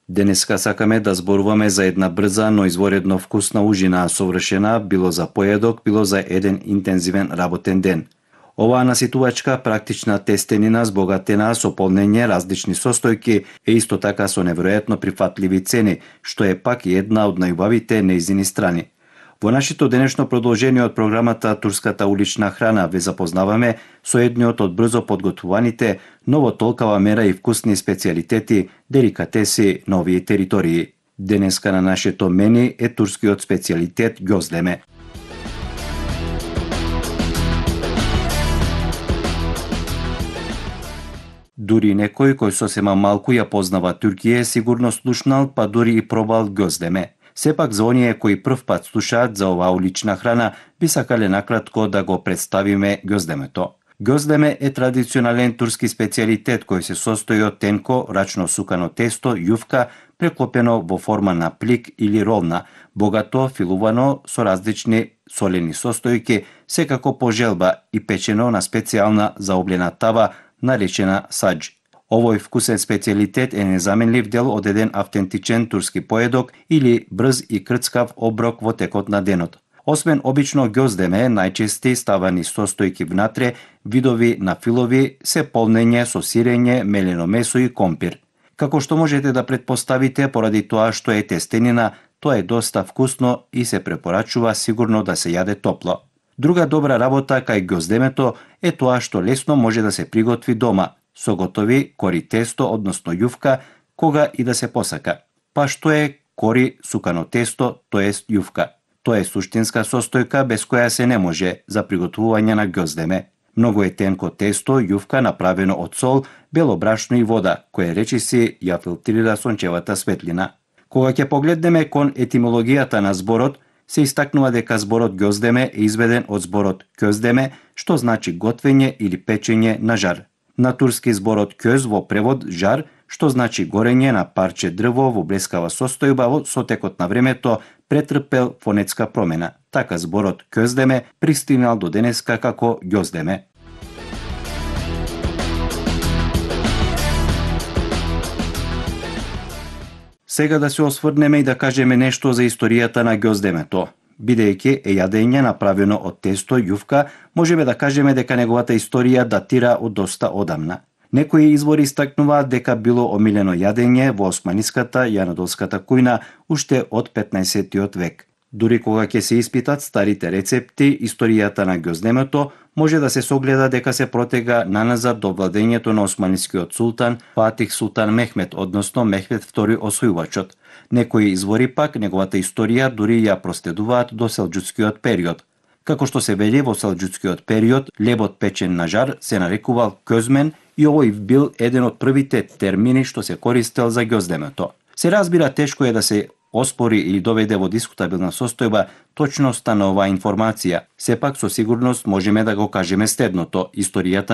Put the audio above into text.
Денеска сакаме да зборуваме за една брза, но изворедно вкусна ужина, совршена било за поедок, било за еден интензивен работен ден. Оваа наситувачка практична тестенина збогатена со полнење различни состојки е исто така со неверојатно прифатливи цени, што е пак и една од најубавите нејзини страни. Во нашето денешно продолжение од програмата Турската улична храна ве запознаваме со едниот од брзо подготвуваните, но во толкава мера и вкусни специјалитети, деликатеси на овие територии. Денеска на нашето мени е турскиот специјалитет ѓоздеме. Дури некој кој сосема малку ја познава Туркија сигурно слушнал, па дури и пробал ѓоздеме. Сепак за оние кои прв пат слушаат за оваа улична храна, би сакале накратко да го представиме ѓоздемето. Ѓоздеме е традиционален турски специјалитет кој се состои од тенко, рачно сукано тесто, јувка, преклопено во форма на плик или ролна, богато филувано со различни солени состојки, секако по желба и печено на специјална заоблена тава, наречена садж. Овој вкусен специјалитет е незаменлив дел од еден автентичен турски поедок или брз и крцкав оброк во текот на денот. Освен обично ѓоздеме, најчести ставани состојки внатре, видови на филови, се полнење со сирење, мелено месо и компир. Како што можете да претпоставите, поради тоа што е тестенина, тоа е доста вкусно и се препорачува сигурно да се јаде топло. Друга добра работа кај ѓоздемето е тоа што лесно може да се приготви дома, со готови кори тесто, односно јувка, кога и да се посака. Па што е кори сукано тесто, тоест јувка? Тоа е суштинска состојка без која се не може за приготвување на ѓоздеме. Многу е тенко тесто, јувка направено од сол, бело брашно и вода, кое речиси ја филтрира сончевата светлина. Кога ќе погледнеме кон етимологијата на зборот, се истакнува дека зборот ѓоздеме е изведен од зборот кјоздеме, што значи готвење или печење на жар. На турски зборот кјоз во превод жар, што значи горење на парче дрво во блескава состојба, со текот на времето претрпел фонетска промена. Така зборот кјоздеме пристигнал до денеска како ѓоздеме. Сега да се осврнеме и да кажеме нешто за историјата на ѓоздемето. Бидејќи е јадење направено од тесто, јувка, можеме да кажеме дека неговата историја датира од доста одамна. Некои извори истакнуваат дека било омилено јадење во османиската и анадолската кујна уште од 15-тиот век. Дури кога ќе се испитат старите рецепти, историјата на ѓоздемето може да се согледа дека се протега наназад до владењето на османискиот султан Фатих Султан Мехмед, односно Мехмед II освојувачот. Некои извори пак неговата историја дури ја проследуваат до селџуцкиот период. Како што се вели во селџуцкиот период, лебот печен на жар се нарекувал кјозмен и овој бил еден од првите термини што се користел за ѓоздемето. Се разбира, тешко е да се оспори или доведе во дискутабилна состојба точноста на оваа информација. Сепак со сигурност можеме да го кажеме следното: историјата